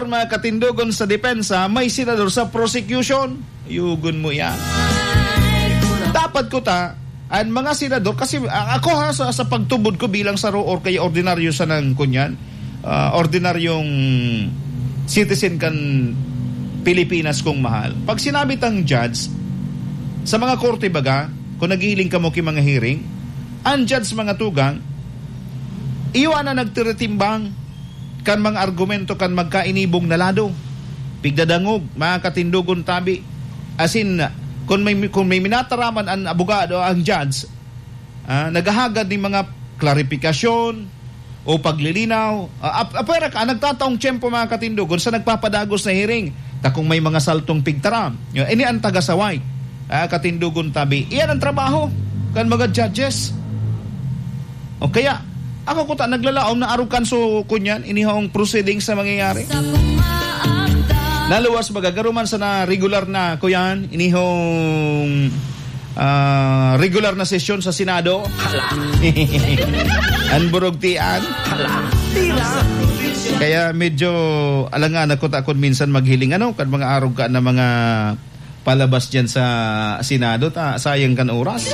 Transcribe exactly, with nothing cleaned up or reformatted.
mga katindogon sa depensa, may senador sa prosecution. Yugon mo yan. Dapat ko ta, ang mga senador, kasi, ah, ako ha, sa, sa pagtubod ko bilang saro or kaya ordinaryo sa nang kunyan, ah, ordinaryong citizen kan Pilipinas kong mahal. Pag sinabi tang judge, sa mga korte baga, kung naghihiling kamo ki mga hearing, ang judge mga tugang, iyo ana nagtiritimbang kan mga argumento kan magkainibong na lado. Pigdadangog, mga katindogon tabi. As in, kung may, kung may minataraman ang abogado, ang judge, ah, naghahagad nin mga klarifikasyon o paglilinaw. Ah, ap-, apwera ka, nagtataong tiyempo, mga katindogon, sa nagpapadagos na hearing. Ta kung may mga saltong pigtaram, yun, ini ang tagasaway. Ah, katindogon tabi. Iyan ang trabaho kan mga judges. O kaya, ako kuta naglalaom na arog kan so kunyan, inihong proceedings na mangyayari. Naluwas magagaruman sana regular na kuyan, inihong, ah, regular na sesyon sa Senado. Hala. Ang burugtian. Hala. Tira. Kaya medyo alangan ako ta kun minsan maghiling ano, kan mga arog ka na mga palabas dyan sa Senado, ta, sayang kan oras.